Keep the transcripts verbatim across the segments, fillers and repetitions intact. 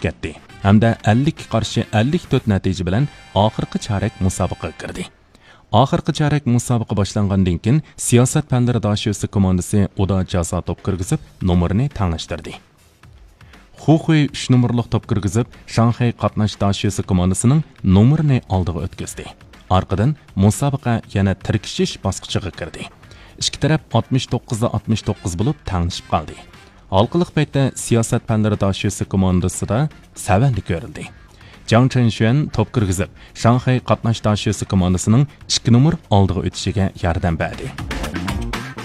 كەتتى ھەمدە ئەللىككە قارشى ئەللىك تۆت نەتىجە بىلەن ئاخىرقى چارەك مۇسابىقىگە كىردى. ئاخىرقى چارەك مۇسابىقە باشلانغاندىن كېيىن، سىياسەت پەنلىرى داشۆسى كوماندىسى ئۇدا جازا توپ كىرگۈزۈپ، نومۇرىنى تەڭلەشتۈردى. خۇخۇي ئۈچ نومۇرلۇق توپ كىرگۈزۈپ، شاڭخەي قاتناش داشۆسى كوماندىسىنىڭ نومۇرىنى ئالدىغا ئۆتكۈزدى. ئارقىدىن مۇسابىقە يەنە تىركىشىش باسقۇچىغا كىردى. ئىككى تەرەپ ئاتمىش توققۇزدا ئاتمىش توققۇز بولۇپ تەڭلىشىپ قالدى. ھالقىلىق پەيتتە سىياسەت پەنلىرى داشۆسى كوماندىسىدا سەۋەنلىك كۆرۈلدى. جاڭ چېنشۈەن توپ كىرگۈزۈپ، شاڭخەي قاتناش داشۆسى كوماندىسىنىڭ ئىككى نومۇر ئالدىغا ئۆتۈشىگە ياردەم بەردى.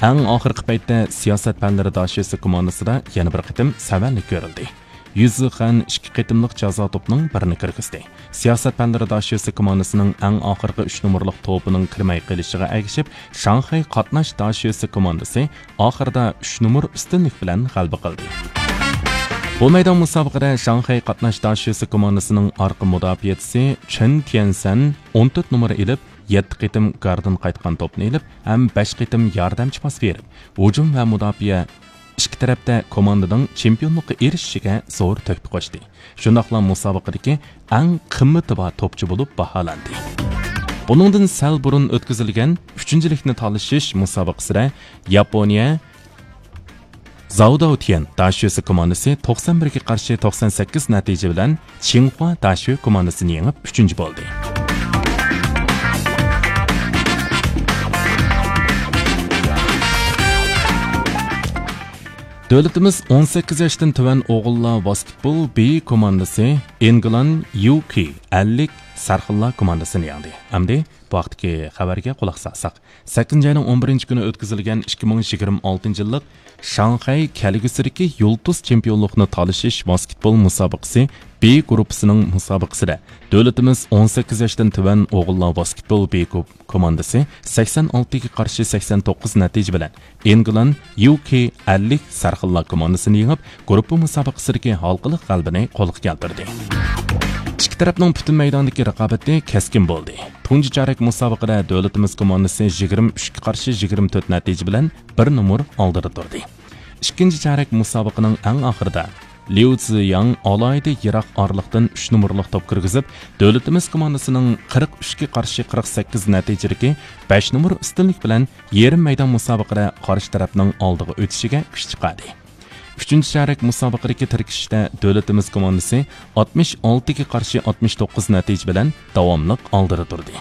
ئەڭ ئاخىرقى پەيتتە سىياسەت پەنلىرى داشۆسى كوماندىسىدا يەنە بىر قېتىم سەۋەنلىك كۆرۈلدى. يۈززىخەن ئىككى قېتىملىق جازا توپنىڭ بىرىنى كىرگۈزدى. سىياسەت پەنلىرى داشۆسى كوماندىسىنىڭ ئەڭ ئاخىرقى ئۈچ نومۇرلۇق توپىنىڭ كىرمەي قېلىشىغا ئەگىشىپ، شاڭخەي قاتناش داشۆسى كوماندىسى ئاخىرىدا ئۈچ نومۇر ئۈستۈنلۈك بىلەن غەلىبە قىلدى. بۇ مەيدان مۇسابىقىدە شاڭخەي قاتناش داشۆسى كوماندىسىنىڭ ئارقا مۇداپىئەچىسى چېن تيەنسەن ئون تۆت نومۇر ئېلىپ، يەتتە قېتىم گاردىن قايتقان توپنى ئېلىپ ھەم بەش قېتىم ياردەمچى پاس بېرىپ، ھۇجۇم ۋە مۇداپىئە ئىككى تەرەپتە كوماندىنىڭ چېمپىيونلۇققا ئېرىشىشىگە زور تۆھپە قوشتى. شۇنداقلا مۇسابىقىدىكى ئەڭ قىممىتى بار توپچى بولۇپ باھالاندى. بۇنىڭدىن سەل بۇرۇن ئۆتكۈزۈلگەن ئۈچىنچىلىكنى تالىشىش مۇسابىقىسىدە ياپونىيە زاۋداۋتيەن داشۆسى كوماندىسى توقسان بىرگە قارشى توقسان سەككىز نەتىجە بىلەن چىڭخۇا داشۆ كوماندىسىنى يېڭىپ، ئۈچىنچى بولدى. دۆلىتىمىز ئون سەككىز ياشتىن تۆۋەن ئوغۇللار ۋاسكېتبول بى كوماندىسى ئىنگلان يۇكى ئەللىك سەرخىللار كوماندىسىنى يەڭدى. ئەمدى بۇ ھەقتىكى خەۋەرگە قۇلاق سالساق. سەككىزىنچى ئاينىڭ ئون بىرىنچى كۈنى ئۆتكۈزۈلگەن ئىككى مىڭ يىگىرمە ئالتىنچى يىللىق شاڭخەي كەلگۈسىدىكى يۇلتۇز چېمپىيونلۇقنى تالىشىش ۋاسكېتبول مۇسابىقىسى بى گۇرۇپپىسىنىڭ مۇسابىقىسىدە دۆلىتىمىز ئون سەككىز ياشتىن تۆۋەن ئوغۇللار ۋاسكېتبول بى گۇ-، كوماندىسى سەكسەن ئالتىگە قارشى سەكسەن توققۇز نەتىجە بىلەن ئىنگلان يۇكى ئەللىك سەرخىللار كوماندىسىنى يېڭىپ، گۇرۇپپا مۇسابىقىسىدىكى ھالقىلىق غەلىبىنى قولغا كەلتۈردى. ئىككى تەرەپنىڭ پۈتۈن مەيداندىكى رىقابىتى كەسكىن بولدى. تۇنجى چارەك مۇسابىقىدە دۆلىتىمىز كوماندىسى يىگىرمە ئۈچكە قارشى يىگىرمە تۆت نەتىجە بىلەن بىر نومۇر ئالدىدا تۇردى. ئىككىنچى چارەك مۇسابىقىنىڭ ئەڭ ئاخىرىدا ليۇ زىياڭ ئالاھىدە يىراق ئارىلىقتىن ئۈچ نومۇرلۇق توپ كىرگۈزۈپ، دۆلىتىمىز كوماندىسىنىڭ قىرىق ئۈچكە قارشى قىرىق سەككىز نەتىجىدىكى بەش نومۇر ئۈستۈنلۈك بىلەن يېرىم مەيدان مۇسابىقىدە قارشى تەرەپنىڭ ئالدىغا ئۆتۈشىگە كۈچ چىقاردى. ئۈچىنچى چارەك مۇسابىقىدىكى تىركىشىشتە دۆلىتىمىز كوماندىسى ئاتمىش ئالتىگە قارشى ئاتمىش توققۇز نەتىجە بىلەن داۋاملىق ئالدىدا تۇردى.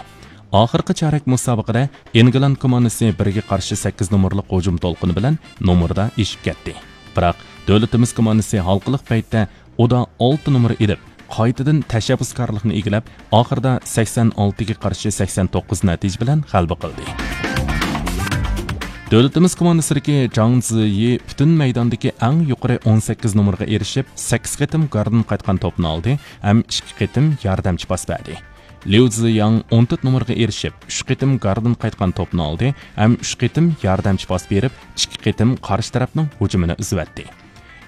ئاخىرقى چارەك مۇسابىقىدە ئىنگلان كوماندىسى بىرگە قارشى سەككىز نومۇرلۇق ھۇجۇم دولقۇنى بىلەن نومۇردا ئېشىپ كەتتى. بىراق، دۆلىتىمىز كوماندىسى ھالقىلىق پەيتتە ئۇدا ئالتە نومۇر ئېلىپ، قايتىدىن تەشەببۇسكارلىقنى ئىگىلەپ، ئاخىرىدا سەكسەن ئالتىگە قارشى سەكسەن توققۇز نەتىجە بىلەن غەلىبە قىلدى. دۆلىتىمىز كوماندىسىدىكى جاڭ زىيى پۈتۈن مەيداندىكى ئەڭ يۇقىرى ئون سەككىز نومۇرغا ئېرىشىپ، سەككىز قېتىم گاردىن قايتقان توپنى ئالدى ھەم ئىككى قېتىم ياردەمچى پاس بەردى. ليۇ زىياڭ ئون تۆت نومۇرغا ئېرىشىپ، ئۈچ قېتىم گاردىن قايتقان توپنى ئالدى ھەم ئۈچ قېتىم ياردەمچى پاس بېرىپ، ئىككى قېتىم قارشى تەرەپنىڭ ھۇجۇمىنى ئۈزۈۋەتتى.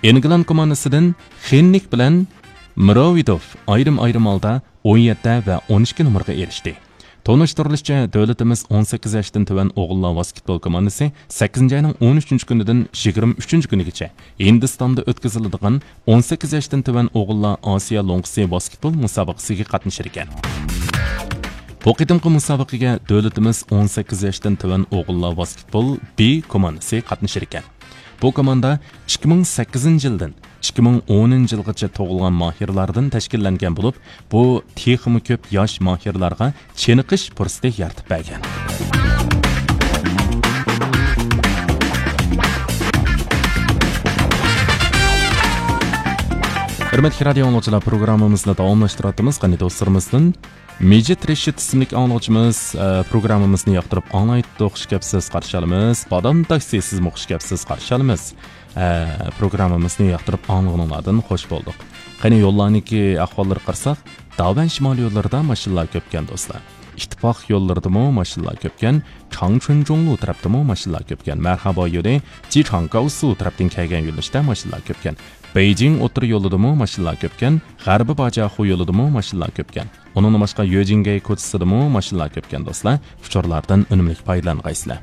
ئىنگلان كوماندىسىدىن خېننىك بىلەن مىروۋىدوف ئايرىم-ئايرىم ھالدا ئون يەتتە ۋە ئون ئىككى نومۇرغا ئېرىشتى. تونۇشتۇرۇلۇشىچە، دۆلىتىمىز ئون سەككىز ياشتىن تۆۋەن ئوغۇللار ۋاسكېتبول كوماندىسى سەككىزىنچى ئاينىڭ ئون ئۈچىنچى كۈنىدىن يىگىرمە ئۈچىنچى كۈنىگىچە ھىندىستاندا ئۆتكۈزۈلىدىغان ئون سەككىز ياشتىن تۆۋەن ئوغۇللار ئاسىيا لوڭقىسى ۋاسكېتبول مۇسابىقىسىگە قاتنىشىدىكەن. بۇ قېتىمقى مۇسابىقىگە دۆلىتىمىز ئون سەككىز ياشتىن تۆۋەن ئوغۇللار ۋاسكېتبول بى كوماندىسى قاتنىشىدىكەن. بۇ كوماندا ئىككى مىڭ سەككىزىنچى يىلدىن ئىككى مىڭ ئونىنچى يىلغىچە تۇغۇلغان ماھىرلاردىن تەشكىللەنگەن بولۇپ، بۇ تېخىمۇ كۆپ ياش ماھىرلارغا چېنىقىش پۇرسىتى يارىتىپ بەرگەن. ھۆرمەتلىك رادىيو ئاڭلىغۇچىلار، پروگراممىمىزنى داۋاملاشتۇرۇۋاتىمىز. قېنى دوستلىرىمىزدىن مىجىت رېشىت ئىسىملىك ئاڭلىغۇچىمىز، ئە، پروگراممىمىزنى ياقتۇرۇپ ئاڭلايتتۇق، خۇش كەپسىز، قارشى ئالىمىز. بادام تاكسى، سىزمۇ خۇش كەپسىز، قارشى ئالىمىز. ئە، پروگراممىمىزنى ياقتۇرۇپ ئاڭلىغىنىڭلاردىن خوش بولدۇق. قېنى يوللارنىڭكى ئەھۋاللىرىغا قارىساق، داۋەن شىمال يوللىرىدا ماشىنىلار كۆپكەن دوستلار. ئىتتىپاق يوللىرىدىمۇ ماشىنىلار كۆپكەن، چاڭچۈنجۇڭلۇ تەرەپتىمۇ ماشىنىلار كۆپكەن. مەرھابا يولى، جىچاڭگاۋسۇ تەرەپتىن كەلگەن يۆنىلىشتە ماشىنىلار كۆپكەن. بېيجىڭ ئوتتۇرا يولىدىمۇ ماشىنىلار كۆپكەن، غەربىي باجياخۇ يولىدىمۇ ماشىنىلار كۆپكەن. ئۇنىڭدىن باشقا يۆجىنگەي كوچىسىدىمۇ ماشىنىلار كۆپكەن دوستلار. ئۇچۇرلاردىن ئۈنۈملۈك پايدىلانغايسىلەر.